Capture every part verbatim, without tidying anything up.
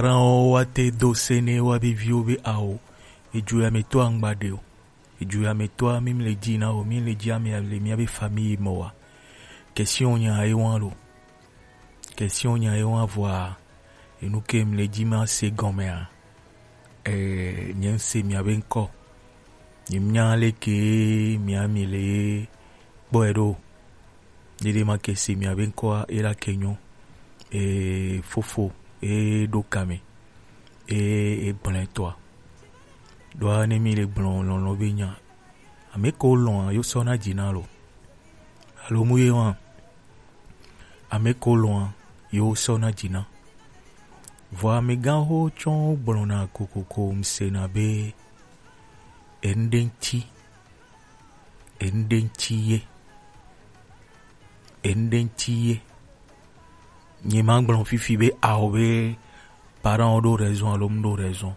Parents wo wa te do se ne wa be viwo be awo. Eju ya me to angba de o. Eju ya me to a mi le ji na o, mi le ji ame le mi be famille mo wa. Question nya e wan lo. Question nya e wan vwa. Enu ke mi le ji ma se gɔme a. Eh, nye se mi abe nkɔ. Nye nya le ke mi ami le kpɔ e do. Dede ma ke se mi abe nkɔ a, e la ke nyo. E fofo, e do kame. E, e gblẽ tɔa. Ɖoa ne mi le gblɔ lɔlɔ be nya. Ame ko lɔn a yo sɔ na dzi na lo. Alo mu ye wa. Ame ko lɔn a yo sɔ na dzi na. Vɔ amegã ho tsɔ gblɔ na kokoko mse na be ende ŋti. Ende ŋti ye. Ende ŋti ye. Nye ma gblɔ fifi be awo be parents wo ɖo raison alo mu ɖo raison.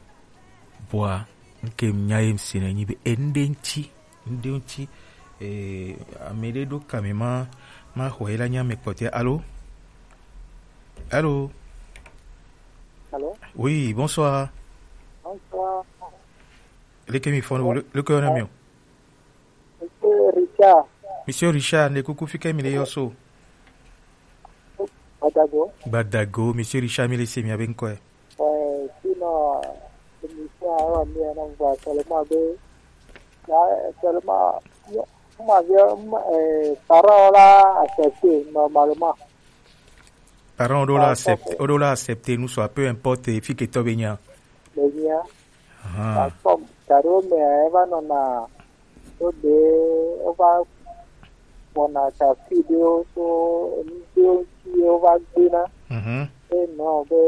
Vɔa, nke nya ye mse na nyi be ende ŋti, ende ŋti, eh, ame ɖe ɖo kame ma, ma xɔ ye la nya me kpɔtɛ. Allô? Allô? Allô? Oui, bonsoir. Bonsoir. Leke mi fɔn, le, leke yɔ na mi o? Monsieur Richard. Monsieur Richard, ne kuku fike mi le yɔ so. Badago. Badago, Monsieur Richard, mi le se mi abe nkɔ. Ouais, sinon, émission a wa mi na ngwa seulement be, là, seulement, yo, ma vie, eh, parents la accepté normalement. Parents wo ɖo la accepté, wo ɖo la accepté, nous soit peu importe, fi ke tɔ be nya. Be nya. Ahan. Parce que da ɖewo mea, eva nɔna, wo ɖe, wova wɔna tafsir ɖewo tso enu ɖewo ŋuti ye wova gbena. Mhm. Enɔ be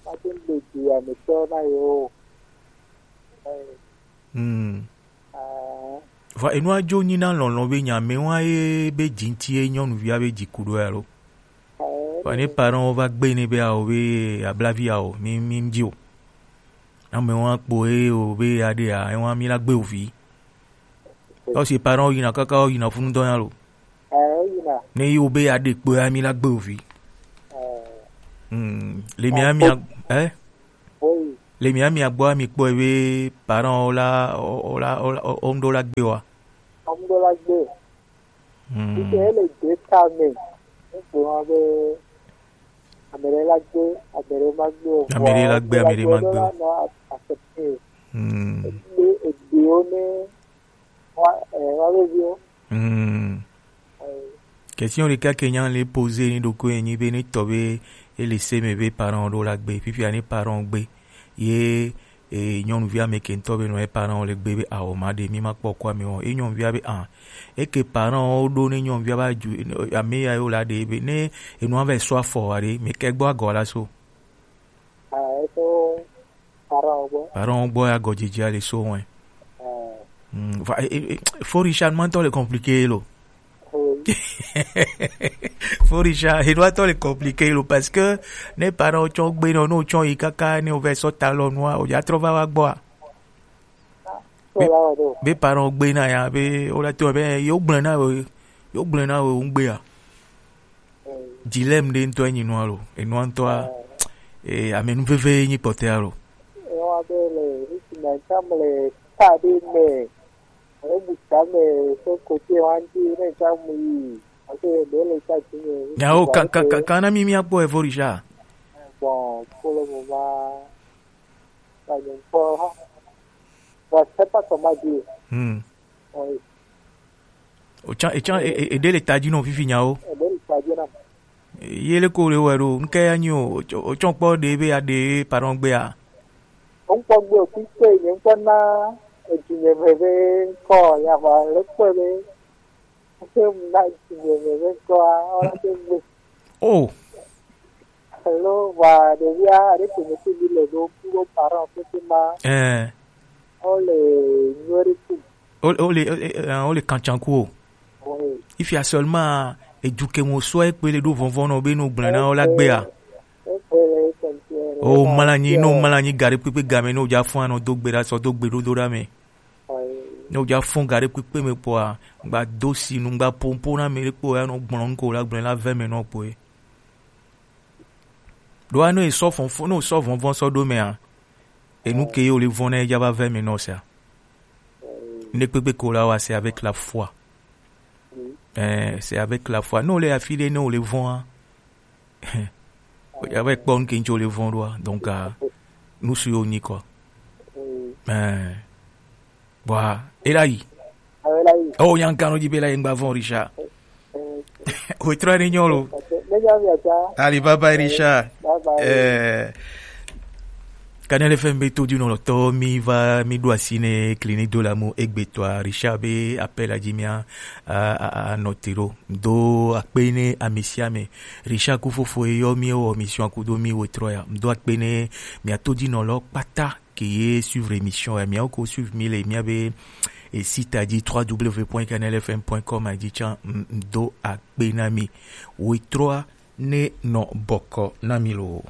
mate ŋu ɖe dzi ametɔ na yewo o. Eh. Hmm. Ah. Vɔ enua dzo nyi na lɔlɔ be nya me wa ye be dzi ŋuti ye nyɔnuvia be dzi ku ɖo ya lo. Vɔ ne parents wo va gbe ne be awo be ablavi awo, mi, mi ŋdi o. Ame wa kpo ye o be ya ɖe ya, ewa mi la gbe o vi. Ɔ si parents wo yina kaka wo yina funu dɔ ya lo. Eh, yina. Ne yi wo be ya ɖe kpo ya mi la gbe o vi. Eh. Hmm. Le mi ami, eh? Oui. Le mi ami agbɔ ami kpɔ be parents wo la, wo la, wo la, wo ŋdo la gbe wa. Wo ŋdo la gbe. Hmm. Ike ele de ta me. Ŋgbe wa be ame ɖe la gbe, ame ɖe ma gbe o. Ame ɖe la gbe, ame ɖe ma gbe o. Nɔ accepter. Hmm. Egbe, egbewo ne wa, eh, wa be viwo. Hmm. Eh. Question ɖeka ke nya le poser ni ɖokui enyi be ne tɔ be ele se me be parents wo ɖo la gbe. Fifia ne parents wo gbe. Ye e, nyɔnuvi ame ke ŋutɔ be nɔ e parents wo le gbe be awo ma ɖe mi ma kpɔ kɔ ame wo. E nyɔnuvia be ah, e ke parents wo ɖo ne nyɔnuvia va ju, ame ya yo la ɖe be ne enua va sɔ afɔ wa ɖe, me ke gbɔ agɔ la so. Ah, e so parents wo gbɔ. Parents wo gbɔ ya gɔ dzidzi ale so wɛ. Ah. Mm, va, e, e, e, fo Richard ma ŋutɔ le compliqué lo. Oui. Fo Richard, e doit être compliqué lo, parce que ne parents wo tsɔ gbe nɔ, no tsɔ yi kaka ne o va sɔ ta lɔ nua, o ya trɔ va wa gbɔ a. Be, be parents wo gbe na ya, be o la to be yo gblẽ na o, yo gblẽ na o ŋgbe a. Dilemme ɖe ŋutɔ enyi nua lo, enua ŋutɔa, eh, amenuveve nyi kpɔtɛa lo. Ewa be le, esi na tsam le ta ɖe me. Ebu tame so kote wanti ne ka mu yi. Ake ɖe le ka ti me. Nyawo ka, ka, ka, ka na mi mi akpɔ evo Richard. Bon, pour le moment, pas encore. Bon, je sais pas comment dire. Hmm. Oui. O tsan, e tsan, e, e, e ɖe le ta dzi nɔ fifi nyawo. E ɖe le ta dzi na. Ye le ko le wɛ ɖo, nke ya nyi o, o tsɔ, o tsɔ kpɔ ɖe be ya ɖe parents gbe a. Ŋkpɔ gbe o, fi ke nye ŋkpɔ na edu nye veve ŋkɔ ya va le kpɔ be, ke na edu nye veve ŋkɔ a, ɔna ke gbe. Oh. Hello, wa ɖevia, aɖe ke me fi mi le ɖo, ku ɖo parents pete ma. Eh. O le nyuie ɖe ku. O, o le, o, o, o le kantsan ku o. Oui. Ifia seulement, edu ke mo sɔ ekpe le ɖo vɔvɔ nɔ be no gblẽ na o la gbe a. O mla nyi, no mla nyi gare kpekpe game no ja fún anɔ do gbe ɖa sɔ do gbe ɖoɖo ɖa me. Oui. No ja fún gare kpekpe me kpɔa, gba do si nu gba pompo na me ɖe kpɔ ya no gblɔ ŋko la gblẽ la ve me nɔ kpɔe. Ɖoa ne esɔ fɔnfɔn ne osɔ vɔnvɔn sɔ ɖo mɛa, enu ke ye wole vɔn na ye dza va vɛ mi nɔ sia. Ne kpekpe ko la wa, c'est avec la foi. Eh, c'est avec la foi. Ne wole afi ɖe ne wole vɔn a, ya va kpɔ nu ke ŋtsi wole vɔn ɖoa. Donc ah, nu si yo nyi kɔ. Eh, bwa ela yi. Oh, yan kano dzi be la yengba vɔn Richard. Wetrɔ ne nyɔ lo. Alibaba Richard. Eh, Kanɛl F M be to di nɔ lɔtɔ mi va mi ɖo asi ne clinique de l'amour egbetɔa Richard be appel a dzi mia a, a, a nɔ te ɖo. Do akpe ne ame sia ame. Richard ku fofo ye yɔ mi wɔ mission akudo mi wetrɔ ya. Do akpe ne mia to di nɔ lɔ kpata ke ye suivre émission ya, mia ko suivre mi le mia be e site a dzi trois W point kanɛl F M point com a dzi tsa. Do akpe na mi. Wetrɔ ne nɔ bɔkɔ na mi lo.